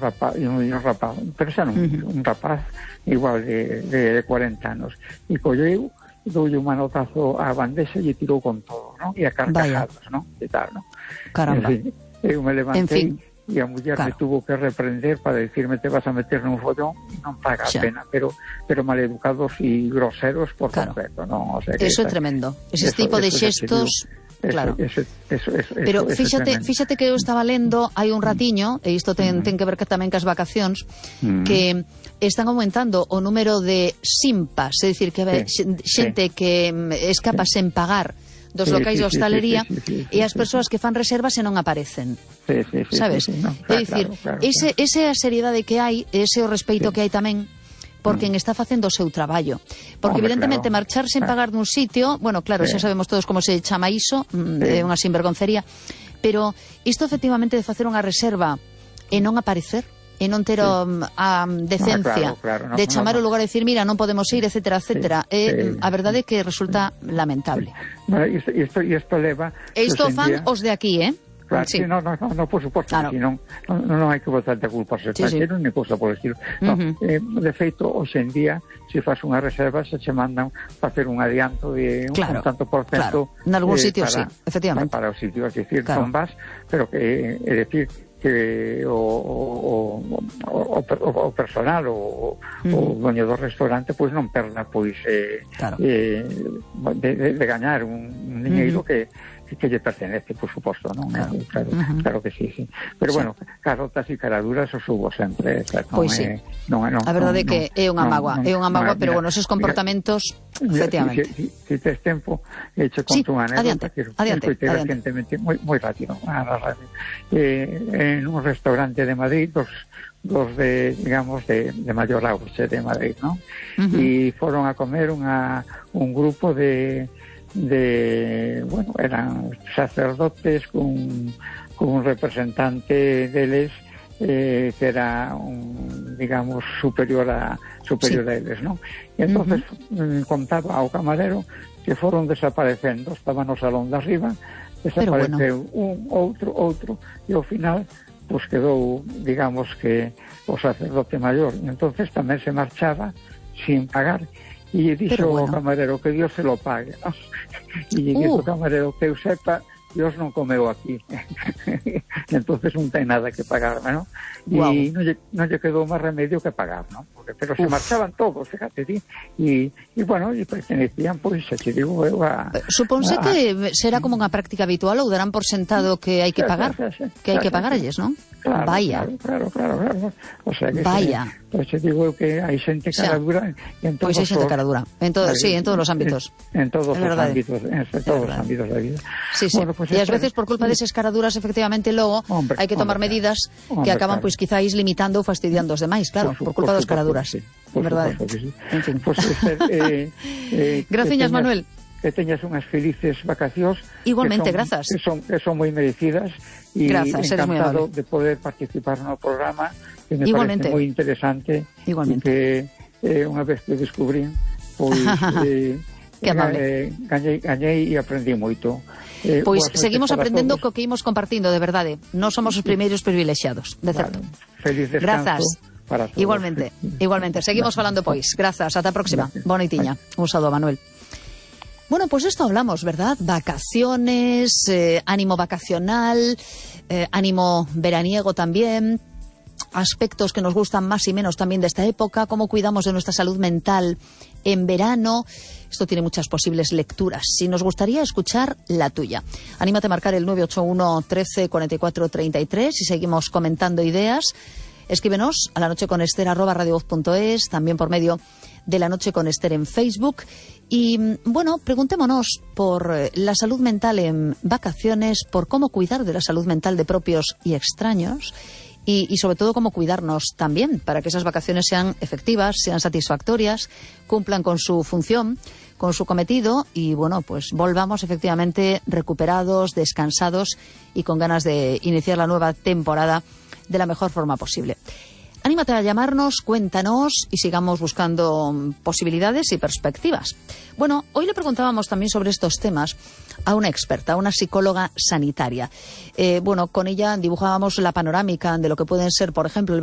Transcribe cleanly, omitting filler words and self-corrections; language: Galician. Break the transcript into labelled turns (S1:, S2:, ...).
S1: rapaz, pero xa non, un rapaz igual de 40 anos, e colleu, doulle un manotazo á bandexa e tirou con todo, non? E a carcajadas, non? E tal, non?
S2: Caramba.
S1: En fin, eu me levantei e a muller me tuvo que reprender para decirme te vas a meter nun follón, non paga a pena, pero maleducados e groseros por completo, non? O sea, que
S2: eso é tremendo. Ese tipo de xestos... Claro. Pero fíxate que eu estaba lendo hai un ratiño, e isto ten que ver tamén cas vacacións, que están aumentando o número de simpas, é dicir, que xente que escapa sen pagar dos locais de hostalería e as persoas que fan reservas e non aparecen. Sabes? É dicir, esa é a seriedade que hai, ese o respeito que hai tamén por quen está facendo o seu traballo. Porque, evidentemente, marchar sen pagar dun sitio, bueno, claro, xa sabemos todos como se chama iso, é unha sinvergoncería, pero isto, efectivamente, de facer unha reserva e non aparecer, e non ter a decencia de chamar o lugar e dicir, mira, non podemos ir, etcétera, etcétera, a verdade é que resulta lamentable.
S1: Isto leva...
S2: E isto fan os de aquí,
S1: Claro, no, por suposto, claro. Non hai que botar de culpa aos extranjeros, ni cousa por estilo. De feito, hoxe en día, se faz unha reserva, se che mandan facer un adianto de un tanto por cento.
S2: Nalgún sitio, sí, efectivamente.
S1: Para o sitio, es decir, non vas, pero que, é decir, que o personal, o dueño do restaurante, pois non perda, pois, de gañar un diñeiro que lle pertenece, por suposto, non? Claro que sí. Pero bueno, carotas e caraduras os hubo sempre.
S2: Pois sí. A verdade é que é unha mágoa, pero bueno, esos comportamentos, efectivamente.
S1: Si tes tempo, che conto unha anécdota que recentemente, moi rápido, en un restaurante de Madrid, dos de, digamos, de maior auxe de Madrid, non? E foron a comer un grupo bueno, eran sacerdotes con un representante deles que era digamos superior a eles, non? E entonces contaba ao camarero que foron desaparecendo, estaban no salón de arriba, desapareceu un, outro, e ao final pues quedou, digamos, que o sacerdote maior, e entonces tamén se marchaba sin pagar. E dixo o camarero que Dios se lo pague, ¿no? E dixo o camarero que eu sepa, Dios non comeu aquí. Entonces non ten nada que pagar, ¿no? E non lle quedou máis remedio que pagar, ¿no? Pero se marchaban todos, fíjate, e bueno, e pertenecían, pois, xa te digo, eu a...
S2: Suponse que será como unha práctica habitual, ou darán por sentado que hai que pagar, que hai que pagaralles, non?
S1: Claro,
S2: vaya.
S1: Claro. O sea que
S2: vaya.
S1: Pois te digo que hai xente cara dura en todos.
S2: Pois hai xente cara dura, en todos os ámbitos.
S1: En todos os ámbitos, os ámbitos da vida.
S2: Sí. Bueno, pues e ás veces por culpa desas caraduras, efectivamente, logo hai que tomar medidas que acaban, pois, quizáis limitando ou fastidiando os demais, claro, por culpa das caraduras. Verdade. En fin. Graciñas, Manuel.
S1: Que teñas unhas felices vacacións.
S2: Igualmente, grazas.
S1: Que son moi merecidas, e encantado de poder participar no programa, que me parece moi interesante.
S2: Igualmente.
S1: Que unha vez que descubrí, pois gañei e aprendí moito.
S2: Pois seguimos aprendendo co que imos compartindo, de verdade. Non somos os primeiros privilexiados, de certo.
S1: Feliz descanso.
S2: Grazas.
S1: Para todos.
S2: Igualmente. Seguimos falando, pois. Grazas, ata a próxima. Bona noitiña. Un saúdo, Manuel. Bueno, pues esto hablamos, ¿verdad? Vacaciones, ánimo vacacional, ánimo veraniego también, aspectos que nos gustan más y menos también de esta época, cómo cuidamos de nuestra salud mental en verano. Esto tiene muchas posibles lecturas. Si nos gustaría escuchar la tuya, anímate a marcar el 981 13 44 33 y seguimos comentando ideas. Escríbenos a lanocheconester@radiovoz.es, también por medio de La Noche con Ester en Facebook. Y bueno, preguntémonos por la salud mental en vacaciones, por cómo cuidar de la salud mental de propios y extraños, y sobre todo cómo cuidarnos también para que esas vacaciones sean efectivas, sean satisfactorias, cumplan con su función, con su cometido, y bueno, pues volvamos efectivamente recuperados, descansados y con ganas de iniciar la nueva temporada de la mejor forma posible. Anímate a llamarnos, cuéntanos y sigamos buscando posibilidades y perspectivas. Bueno, hoy le preguntábamos también sobre estos temas a una experta, a una psicóloga sanitaria. Bueno, con ella dibujábamos la panorámica de lo que pueden ser, por ejemplo, el verano